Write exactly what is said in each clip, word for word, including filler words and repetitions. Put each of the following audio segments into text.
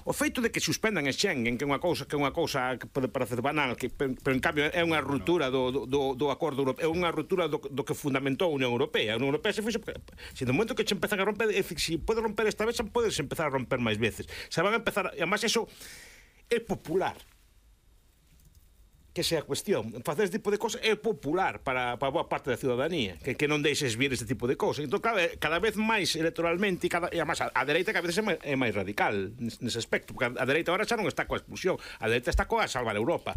o feito de que suspendan a Schengen, que é unha cousa que é unha cousa que pode parecer banal, que, pero, pero en cambio é unha ruptura do, do, do acordo europeo, é unha ruptura do, do que fundamentou a Unión Europea. A Unión Europea se fixo, se no momento que che empezan a romper, se si pode romper esta vez, podes empezar a romper máis veces. Se van a empezar, e además eso é popular. Que sea a cuestión, facer este tipo de cosas é popular para, para boa parte da ciudadanía, que, que non deixes vir este tipo de cosas. Entón, cada, cada vez máis electoralmente, e, cada, e además, a, a dereita cada vez é máis, é máis radical nese aspecto, porque a, a dereita agora xa non está coa expulsión, a dereita está coa salvar Europa,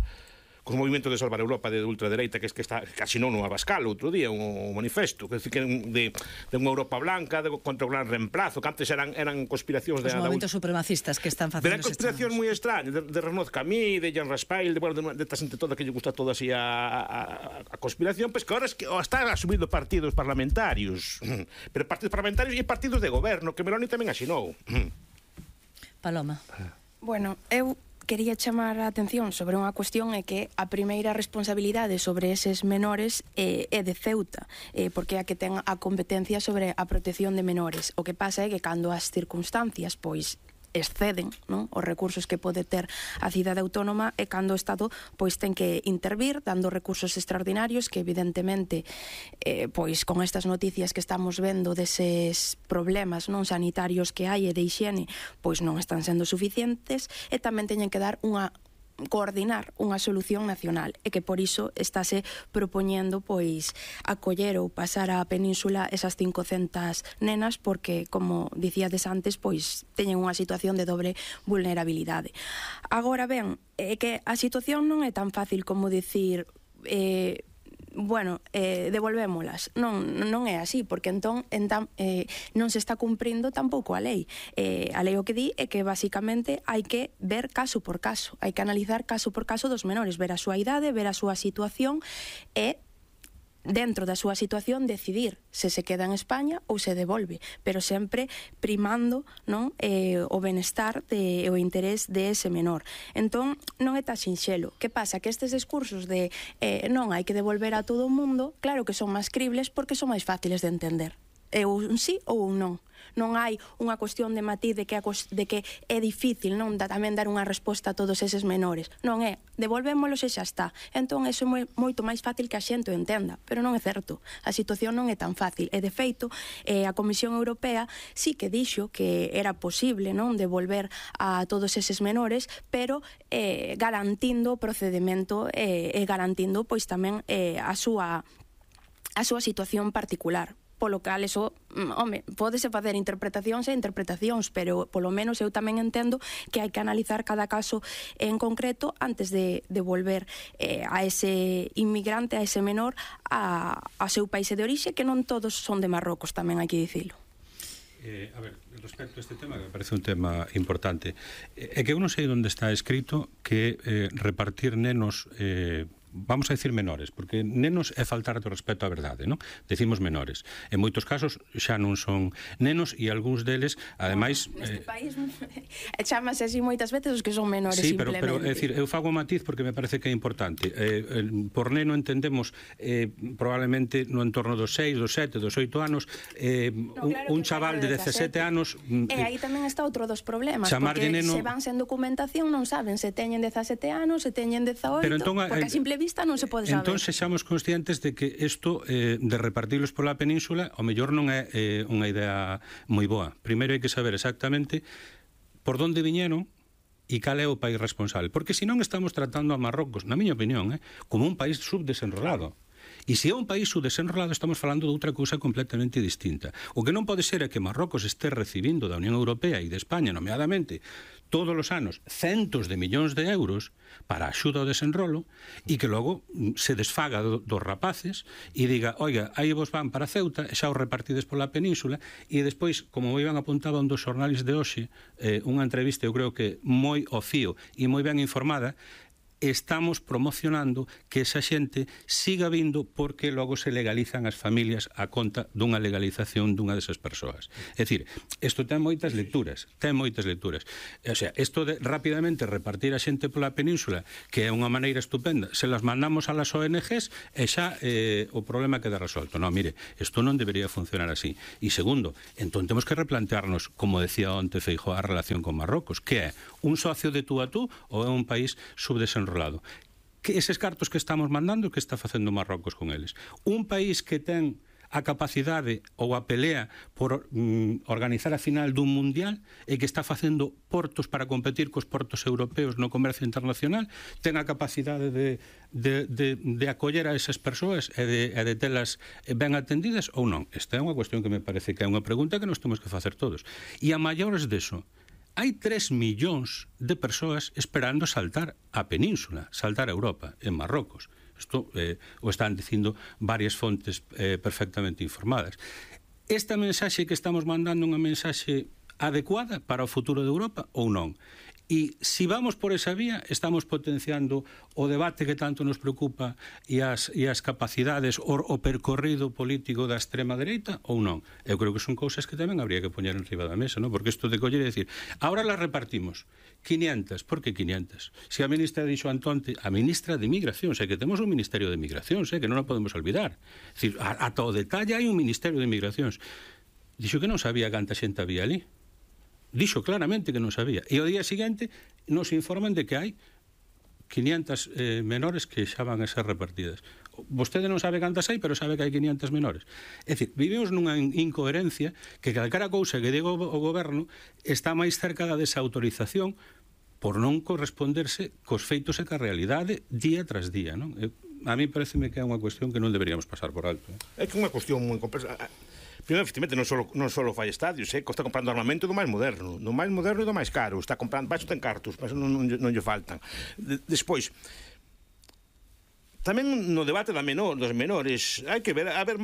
cos movimentos de salvar Europa de ultradereita, que es que está casi non no Abascal outro día, un, un manifesto que, que de, de unha Europa blanca de, contra o gran reemplazo, que antes eran, eran conspiracións de... Os movimentos supremacistas que están facendo... Eran conspiracións moi extrañas, de, de Renaud Camí, de Jean Raspail, de, bueno, de, de esta xente toda que lle gusta toda así a, a, a conspiración, pois pues que ahora es que oh, están asumindo partidos parlamentarios, pero partidos parlamentarios e partidos de goberno, que Meloni tamén asinou. Paloma. Bueno, eu quería chamar a atención sobre unha cuestión, é que a primeira responsabilidade sobre eses menores é, é de Ceuta, eh, porque é a que ten a competencia sobre a protección de menores. O que pasa é que cando as circunstancias pois exceden, non, os recursos que pode ter a cidade autónoma, e cando o Estado pois ten que intervir dando recursos extraordinarios que evidentemente eh, pois con estas noticias que estamos vendo deses problemas non sanitarios que hai e de hixiene pois non están sendo suficientes, e tamén teñen que dar unha coordinar unha solución nacional, e que por iso estáse propoñendo pois acoller ou pasar á península esas cincocentas nenas, porque como dicíades antes, pois teñen unha situación de dobre vulnerabilidade. Agora ben, é que a situación non é tan fácil como dicir eh, bueno, eh, devolvémolas. Non, non é así, porque entón, entón eh, non se está cumprindo tampouco a lei. Eh, a lei o que di é que basicamente hai que ver caso por caso, hai que analizar caso por caso dos menores, ver a súa idade, ver a súa situación e dentro da súa situación decidir se se queda en España ou se devolve, pero sempre primando, non, eh, o benestar de, o interés de ese menor. Entón, non é tan sinxelo. Que pasa? Que estes discursos de eh, non hai que devolver a todo o mundo, claro que son máis cribles porque son máis fáciles de entender. É un sí ou un non. Non hai unha cuestión de matiz de que, de que é difícil non da, tamén dar unha resposta a todos eses menores. Non é, devolvémolos e xa está. Entón, eso é moi, moito máis fácil que a xente o entenda, pero non é certo. A situación non é tan fácil. E, de feito, eh, a Comisión Europea sí que dixo que era posible non devolver a todos eses menores, pero eh, garantindo o procedimento e eh, garantindo pois tamén eh, a súa a súa situación particular. Polo cal, eso, home, pódese facer interpretacións e interpretacións, pero polo menos eu tamén entendo que hai que analizar cada caso en concreto antes de, de volver eh, a ese inmigrante, a ese menor, a, a seu país de orixe, que non todos son de Marrocos, tamén hai que dicilo. Eh, a ver, respecto a este tema, que me parece un tema importante, é eh, que eu non sei onde está escrito que eh, repartir nenos... Eh, vamos a decir menores, porque nenos é faltar do respeto á verdade, non? Decimos menores. En moitos casos xa non son nenos e algúns deles, ademais... No, neste eh, país chamase así moitas veces os que son menores, sí, pero, simplemente. pero, é dicir, eu fago un matiz porque me parece que é importante. Eh, eh, por neno entendemos eh, probablemente no entorno dos seis, dos sete, dos oito anos, eh, no, claro un, un chaval de dezasete anos... E aí tamén está outro dos problemas, porque neno... se van sen documentación non saben se teñen dezasete anos, se teñen dezaoito, pero entón, porque a simple vista non se pode saber. Entón, sexamos conscientes de que isto eh, de repartirlos pola península ao mellor non é eh, unha idea moi boa. Primeiro hai que saber exactamente por onde viñeron e cal é o país responsable. Porque senón estamos tratando a Marrocos, na miña opinión, eh, como un país subdesenrolado. E se é un país subdesenrolado, estamos falando de outra cousa completamente distinta. O que non pode ser é que Marrocos este recibindo da Unión Europea e de España, nomeadamente, todos os anos, centos de millóns de euros para a axuda ao desenrolo e que logo se desfaga do, dos rapaces e diga, oiga, aí vos van para Ceuta e xa os repartides pola península e despois, como moi ben apuntaba un dos xornales de hoxe, eh, unha entrevista, eu creo que moi ao fío e moi ben informada, estamos promocionando que esa xente siga vindo porque logo se legalizan as familias a conta dunha legalización dunha desas persoas. É dicir, isto ten moitas lecturas, ten moitas lecturas. O sea, isto de rapidamente repartir a xente pola península, que é unha maneira estupenda, se las mandamos a las O N Ges e xa eh, o problema queda resolto. Non, mire, isto non debería funcionar así. E segundo, entón temos que replantearnos, como decía onte Feijóo, a relación con Marrocos, que é un socio de tú a tú ou é un país subdesenrolado. Que eses cartos que estamos mandando, que está facendo Marrocos con eles? Un país que ten a capacidade ou a pelea por mm, organizar a final dun mundial e que está facendo portos para competir cos portos europeos no comercio internacional, ten a capacidade de, de, de, de acoller a esas persoas e de, e de telas ben atendidas ou non? Esta é unha cuestión que me parece que é unha pregunta que nos temos que facer todos. E a maiores deso, hai tres millóns de persoas esperando saltar a península, saltar a Europa, en Marrocos. Isto eh, o están dicindo varias fontes eh, perfectamente informadas. Esta mensaxe que estamos mandando é unha mensaxe adecuada para o futuro de Europa ou non? E se vamos por esa vía, estamos potenciando o debate que tanto nos preocupa e as, e as capacidades o, o percorrido político da extrema dereita ou non? Eu creo que son cousas que tamén habría que poñer en riba da mesa, non? Porque isto de coller e decir, ahora las repartimos quinientas, por que quinientas? Se a ministra dixo Antonte, a ministra de Migración, sei que temos un Ministerio de Migración, sei que non o podemos olvidar. É dicir, ata o detalle hai un Ministerio de Migracións. Dixo que non sabía canta xente había ali. Dixo claramente que non sabía. E ao día seguinte nos informan de que hai quinientas eh, menores que xa van a ser repartidas. Vostede non sabe cantas hai, pero sabe que hai quinientas menores. É dicir, vivimos nunha incoherencia que calquera cousa que diga o goberno está máis cerca da desautorización por non corresponderse cos feitos e ca realidade día tras día, non? A mí pareceme que é unha cuestión que non deberíamos pasar por alto. É que é unha cuestión moi complexa. Primeiro, efectivamente, non só non só fai estadios, eh, está comprando armamento do máis moderno, do máis moderno e do máis caro, está comprando, baixo ten cartos, baixo non, non, non lle faltan. De, despois, tamén no debate da menor, dos menores, hai que ver, a ver,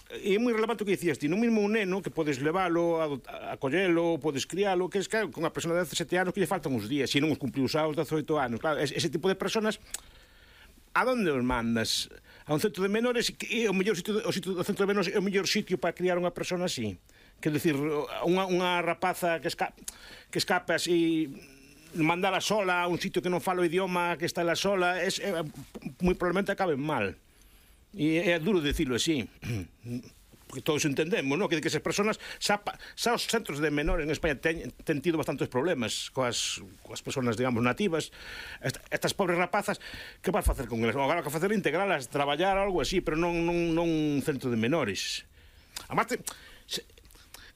é moi relevante o que dicías ti, non mesmo un neno que podes leválo, a, a collelo, podes crialo, que é que con unha persona de dezasete anos que lle faltan uns días, se non os cumpliu os aos dezaoito anos, claro, ese, ese tipo de personas, a donde os mandas? A un centro de menores, e o mellor sitio, o sitio do centro de menores é o mellor sitio para criar unha persona así. Quer decir, unha, unha rapaza que, esca, que escapa así, mandala sola a un sitio que non fala o idioma, que está la sola, es, é, moi probablemente acabe mal. E é duro decirlo así, porque todos entendemos, ¿no? Que, que esas personas, xa, xa os centros de menores en España ten, ten tido bastantes problemas coas, coas personas, digamos, nativas. Est, estas pobres rapazas, que vas facer con elas? Agora que facer integralas, traballar algo así, pero non, non, non un centro de menores. Además, te, se,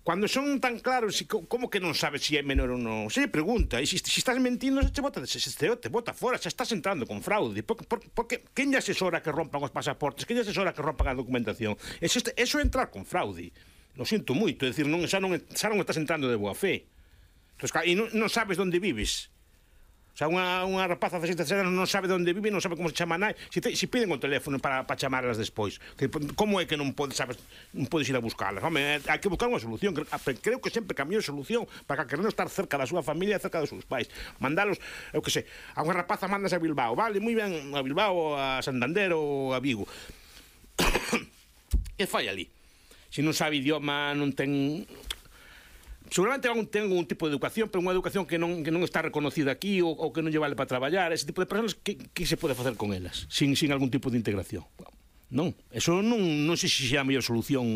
cando son tan claros, como que non sabes se si é menor ou non? Se lle pregunta, e se si, si estás mentindo, se te bota, se, se te, te bota fora, se estás entrando con fraude. Por, por, porque quen lle asesora que rompan os pasaportes? Quen lle asesora que rompan a documentación? Eso, eso é entrar con fraude. Lo sinto moito, é dicir, non, xa, non, xa non estás entrando de boa fe. Entonces, e non, non sabes onde vives. O sea, unha, unha rapaza de dezasete anos non sabe onde vive, non sabe como se chama nai, se, te, se piden o teléfono para, para chamarlas despois. Que, como é que non podes, sabes, non podes ir a buscarlas? Home, hai que buscar unha solución. Creo que sempre cambio solución para que non estar cerca da súa familia e cerca dos seus pais. Mandalos, eu que sei, a unha rapaza mandas a Bilbao, vale, moi ben, a Bilbao, a Santander ou a Vigo. Que fai ali? Se non sabe idioma, non ten... Seguramente ten un tipo de educación, pero unha educación que non, que non está reconocida aquí ou, ou que non lle vale para traballar. Ese tipo de personas, que, que se pode facer con elas sin, sin algún tipo de integración? Non, eso non, non sei se é a mellor solución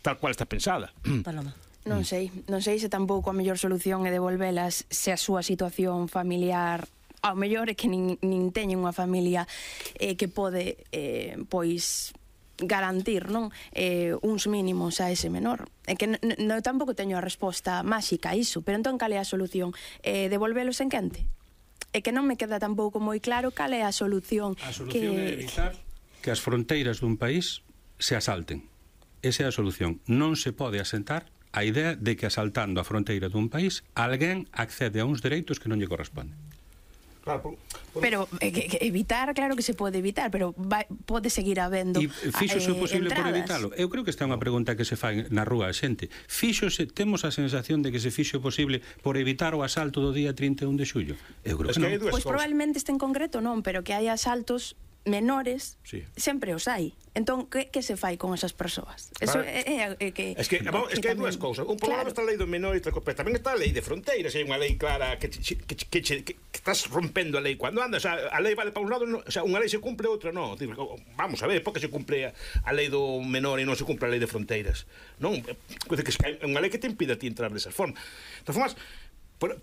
tal cual está pensada. Paloma. Non sei, non sei se tampouco a mellor solución é devolvelas se a súa situación familiar ao mellor é que nin, nin teñen unha familia eh, que pode eh, pois garantir, non, eh, uns mínimos a ese menor. É que non tampouco teño a resposta máxica a iso, pero entón cal é a solución? Eh, devolvelos en quente? É que non me queda tampouco moi claro cal é a solución. A solución que... é evitar que as fronteiras dun país se asalten. Esa é a solución. Non se pode asentar a idea de que asaltando a fronteira dun país alguén accede a uns dereitos que non lle corresponden. Claro, por, por... Pero eh, que, que evitar, claro que se pode evitar, pero vai, pode seguir habendo E fíxose o eh, posible entradas. por evitalo? Eu creo que esta é unha pregunta que se fai na rúa a xente. Fíxose, temos a sensación de que se fixo o posible por evitar o asalto do día trinta e un de xullo? Eu creo Es que, que hai non. dúas Pois cousas. probablemente este en concreto non, pero que hai asaltos menores, Sí. sempre os hai. Entón, que, que se fai con esas persoas? Eso Claro. é, é, é que... Es que, vamos, es que hai tamén- dúas cousas. Un por un lado Claro. está a lei do menor e outra cosa, pero tamén está a lei de fronteiras, hai unha lei clara que, che- que, che- que, che- que, que estás rompendo a lei cando andas, o sea, a lei vale para un lado, no, o sea, unha lei se cumple, outra non. Digo, vamos a ver, por que se cumple a, a lei do menor e non se cumple a lei de fronteiras? Non, é unha lei que te impide a ti entrar desa forma. De todas formas,